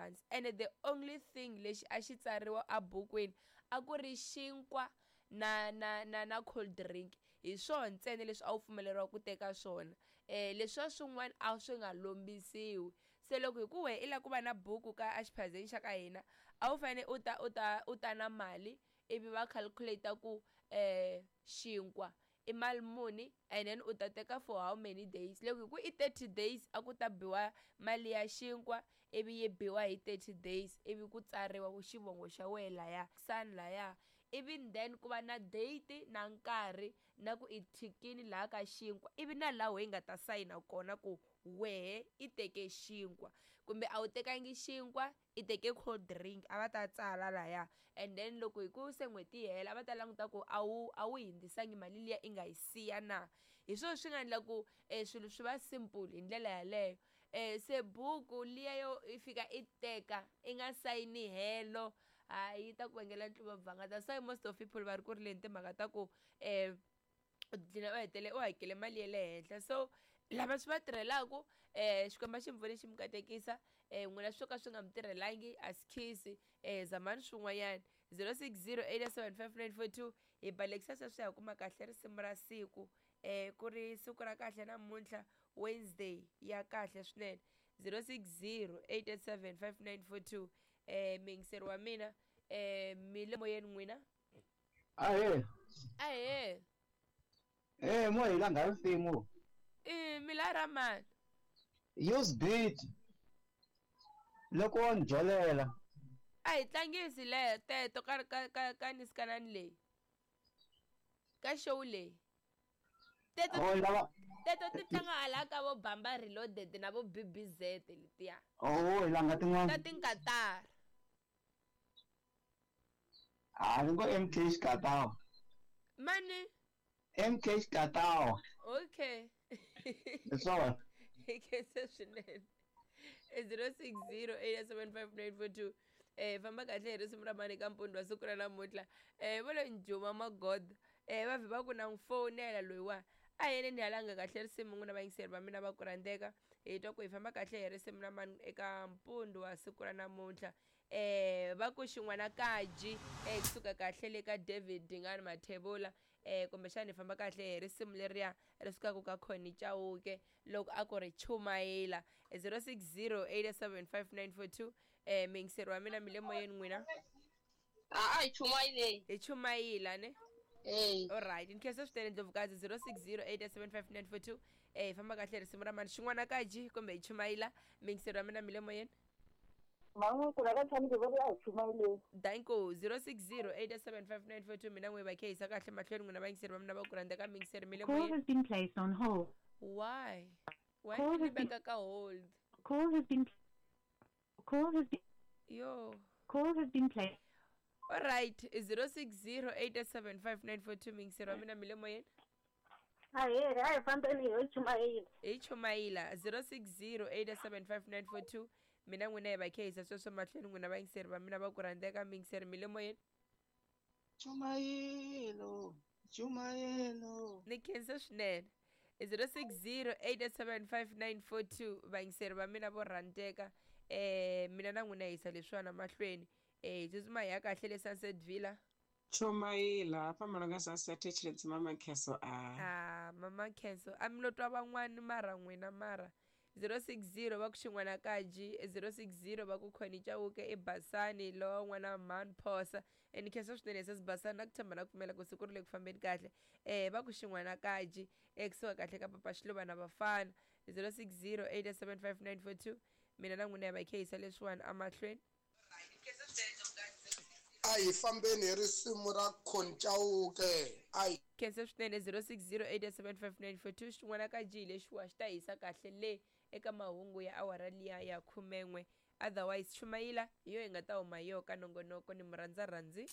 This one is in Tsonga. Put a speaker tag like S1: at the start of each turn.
S1: hansi ene the only thing lexi a xi tsariwa ebukwini a ku ri xinkwa na na na na cold drink hi swona ntsena leswi a wu pfumeleriwa ku teka swona leswiya swin'wana a swi nga lombisiwi se loko hi ku wehe i lava ku va na buku ka exiphazeni xa ka hina a wu fanele u ta u ta u ta na mali ivi va calculate ku xinkwa i mali muni and then u ta teka for how many days loko hi ku i 30 days a ku ta biwa mali ya xinkwa ivi yi biwa hi 30 days ivi ku tsariwa ku xivongo xa wehe laya san laya ivi then ku va na date na nkarhi na ku i thikini laha ka xinkwa ivi na laha wehe nga ta sayina kona ku wehe i teke xinkwa kumbe a wu tekangi xinkwa i teke cold drink a va ta tsala laya and then loko hi ku se n'hweti yi hela a va ta languta ku a wu a wu hindzisangi mali liya i nga yi siya na hi swona swi nga endla ku swilo swi va simple hi ndlela yaleyo se buku liya yo i fika i teka i nga sayini helo hayi yi ta ku vangela ntluva that's why most of people va ri ku rileni timhaka ta ku u dlina u hetele u hakele mali ya le henhla so lava swi va tirhelaku Xikwembu a xi mi pfuni xi mi katekisa n'wina swo ka swi nga mi tirhelangi a swi khisi zamani swin'wanyana 06087594 hi balekisa sweswi ha kuma kahle risimu ra siku ku ri siku ra kahle namuntlha Wednesday ya kahle swinene 06087594 muyingiseri wa mina mi le moyeni n'wina.
S2: Ahee.
S1: Ahee.
S2: Eh, mo hi langa risimu.
S1: I mi la ra mani?
S2: Use beat. Loko wo ni jolela.
S1: A hi tlangisi le teto ka ka ka ka nisikanani leyi. Ka show leyi. Teto
S2: Oh, lava
S1: teto ti tlanga hala ka vo Bamba Reloaded na vo BBZ letiya.
S2: Oh, hi langa
S1: Ta
S2: tin'wana.
S1: tinkatara.
S2: A ni ngo MK Xikatawa.
S1: Mani?
S2: MK Xikatawa.
S1: Okay.
S2: Hi swona.
S1: Hi khensa swinene. 06087594 famba kahle hi risimu ra mani ka mpundzu wa siku ra namuntlha vo lo njhuma magoda va vhe va ku na n'wi fowunela loyiwa a hi yeleni halanga kahle risimu n'wina vayingiseri va mina va ku rhandzeka hi twa ku hi famba kahle hi risimu ra mani eka mpundzu wa siku ra namuntlha va ku xin'wana kaji kusuka kahle le ka David Dingani Mathebula kumbexana hi famba kahle hi risimu leriya ri sukaka ka Connie Chauke loko a ku ri chumayela 06087594 muyingiseri wa mina mi le moyeni n'wina.
S3: A hi chumayileni.
S1: Hi chumayila ne?
S3: Eh.
S1: Alright, ni khensa swinene Ndlovukazi 06087594 hi famba kahle risimu ra mani xin'wana kaji kumbe hi chumayila muyingiseri wa mina mi le moyeni.
S4: Man'we ka tshami ku va a hi chumayeleni.
S1: Danko 06087594 mina n'we va khehisa kahle mahlweni n'wina vayingiseri va mina va ku rhandza ka muyingiseri mi le
S5: Call
S1: moyeni.
S5: has been placed on hold.
S1: Why? Why
S5: Call
S1: mi
S5: has been
S1: veka ka hold?
S5: call has been call has been
S1: Yo.
S5: call has been placed.
S1: Alright, 06087594 muyingiseri wa mina mi le moyeni.
S4: Ahee, a hi fambeni hi chumayela.
S1: Hi chumayila 06087594 mina n'wina hi va khehisa sweswo mahlweni n'wina vayingiseri va mina va ku rhandzeka muyingiseri mi le moyeni.
S6: Chumayelo, chumayelo.
S1: Ni khensa swinene 06087594 vayingiseri va mina vo rhandzeka mina na n'wina hisa leswiwana mahlweni hi tsutsuma hi ya kahle le Sunset Villa.
S7: Chumayela hafha malunga Sunset Tshiledzi mama Kheso a.
S1: Ah mama Kheso a mi lo twa van'wani mara n'wina mara 060 va ku xin'wana kaji 060 va ku Connie Chauke i Basani lowa n'wana mhani Phosa ni khensa swinene sesi Basani na ku tshemba na ku pfumela ku siku ri le ku fambeni kahle va ku xin'wana kaji kusuka kahle ka papa Xiluva na vafana 06087594 mina na n'wina hi va khehisa leswiwani amahlweni.
S8: A hi fambeni hi risimu ra Connie Chauke a hi
S1: Khensa swinene 06087594 xin'wana ka G lexiwa xi ta hisa kahle le eka mahungu ya awara liya ya 11 otherwise chumayila hi yo hi nga ta huma hi yo ka nongonoko ni murhandza rhandzi.